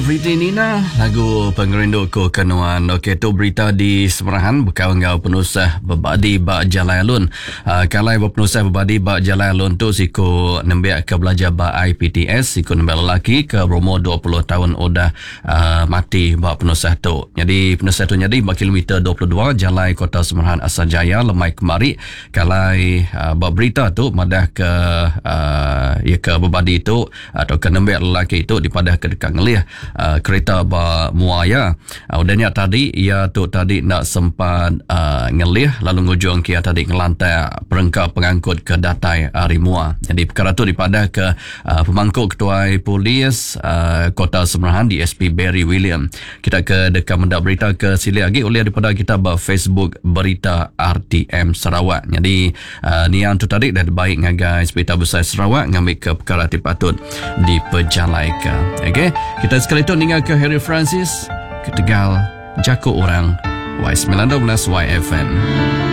Pretty Nina, lagu Pengerindu Ku Ke Nuan. Okey, tu berita di Semerahan bekau enggau penusah bebadi ba Jalai Alun. Uh, kalai ba penusah bebadi ba Jalai Alun tu siku nembiak ke belajar ba IPTS, siku nembiak lelaki ke berumur 20 taun udah uh, mati ba penusah tu. Nyadi penusah tu nyadi ba kilometer 22 Jalai Kota Semerahan Asajaya lemai kemari. Kalai uh, ba berita tu madah ke uh, iya ke bebadi tu atau ke nembiak lelaki tu dipadah ke deka ngelih uh, kereta ba mua iya. Uh, udah nya tadi iya tu tadi enda sempat uh, ngelih lalu ngujung ke iya tadi ngelantak perengka pengangkut ke datai ari mua. Jadi perkara tu dipadah ke uh, pemangku ketuai polis uh, Kota Semerahan DSP Barry William. Kita ke deka meda berita ke silik agi ulih daripada kita ba Facebook Berita RTM Sarawak. Jadi uh, niang tu tadi dah dibai ngagai Hospital Besai Sarawak ngambika perkara ti patut dipejalaika. Okey, kita sekali tu ninga ke Harry Francis ketegal jaku orang Y912 YFM.